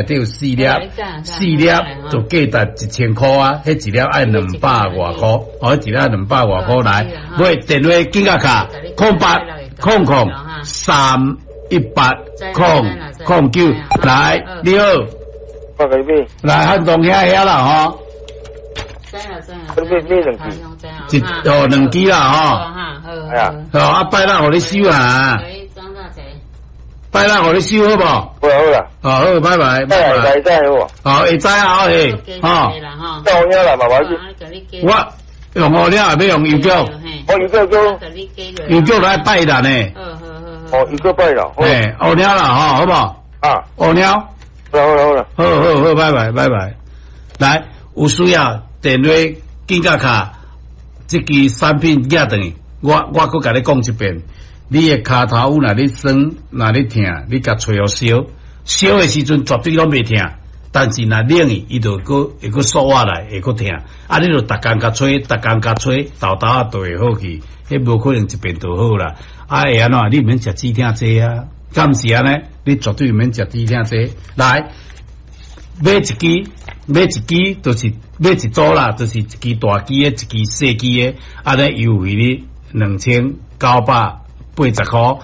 底有四粒，四粒就價值1000箍啊！彼一粒愛兩百外箍，哦，一粒兩百外箍來。買電話緊佮敲空八空空三一八空空九，來，你好，我給你買，來漢東兄遐啦吼，你買買兩支，一哦兩支啦吼，係啊，好啊，拜六予你收啊，拜六予你收好無？好啦好啦，哦好，拜拜，拜拜，會知好無？哦會知啊，嘿，吼，到遐啦，慢慢去。我用烏了，欲用郵局，我郵局叫，郵局來拜六呢。哦，郵局拜六。嘿，烏了啦，吼，好無？啊，烏了。好啦好啦好啦，好好好，拜拜拜拜。來，有需要電話緊佮敲，這支產品寄轉去，我閣共你講一遍。你的跤頭趺若咧酸，若咧疼，你共揣予燒，燒的時陣絕對攏袂疼，但是若冷去，伊就閣會閣縮活來，會閣疼。啊，你就逐工共吹，逐工共吹，沓沓仔就會好去。彼無可能一遍就好啦。啊，會按怎？你毋免食止疼劑啊，敢毋是按呢？你絕對毋免食止疼劑。來，買一支，買一支，就是買一組啦，就是一支大支的，一支細支的，按呢優惠你2980箍。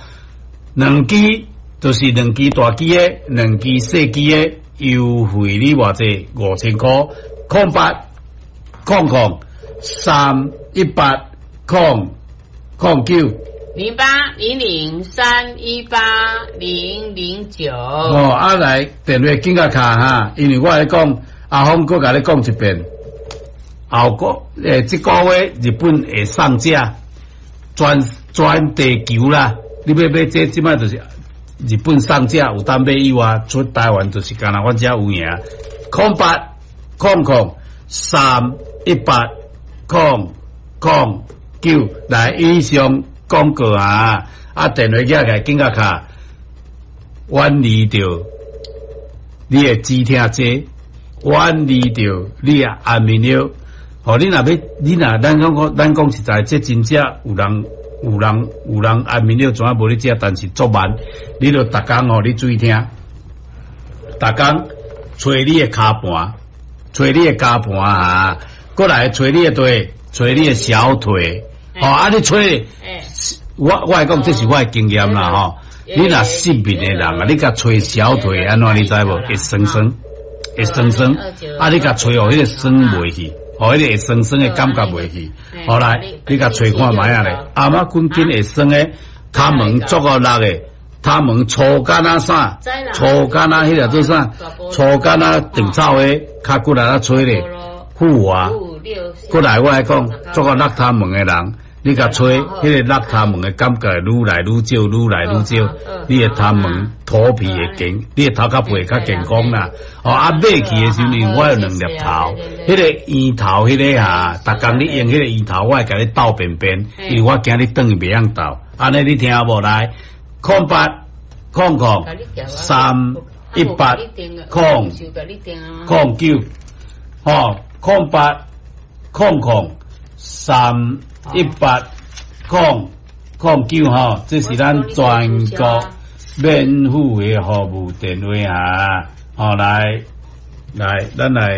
兩支就是兩支大支的，兩支細支的，優惠你偌濟？5000箍。空八空空三一八空空九。 0800318009。哦，啊來電話緊佮敲哈，因為我來講，阿峰閣共你講一遍，後個這個月日本會上架，全地球啦，你欲買這這擺就是日本上架有當買以外，出台灣就是干焦阮遮有影。空八空空三一八空空九，來以上廣告啊！啊，電話寄來緊佮敲，遠離著你的止疼劑，遠離著你的安眠藥。吼，你若欲，你若咱講咱講實在，這真正有人有人有人安眠藥怎啊無咧食，但是足慢。你著逐工吼，你注意聽，逐工揣你的跤盤，揣你的跤盤啊，過來揣你的腿，揣你的小腿。吼，啊！你揣，我會講這是我的經驗啦吼。你若失眠的人啊，你共揣小腿按怎你知無？會酸酸，會酸酸。啊，你共揣予彼个酸袂去，予彼个會酸酸的感覺袂去。後來你共揣看覓仔咧，頷仔骨筋會酸的，跤毛足夠力的，跤毛粗敢若啥？粗敢若彼个做啥？粗敢若長草的，較骨力仔揣咧，富啊！過來我來講，足夠落跤毛的人，你共揣，彼个落跤毛的感覺愈來愈少，愈來愈少。你的跤毛頭皮會健，你的頭殼皮會較健康啦。哦，啊買去的時陣，我有兩粒頭，彼個圓頭，彼个哈，逐工你用彼個圓頭，我會共你鬥便便，因為我驚你轉去袂曉鬥。按呢你聽無來？空八空空三一八空空九，吼，空八空空三一八空空九吼，這是咱全國免付的服務電話啊！吼，來來，咱來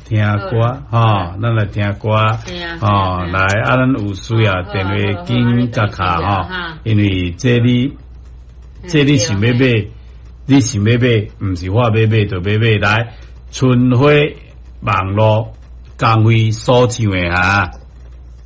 聽歌吼，咱來聽歌吼，來啊，咱有需要電話緊佮敲吼，因為這你這你想欲買，你想欲買，毋是我欲買就欲買。來，春花網路工會所唱的哈。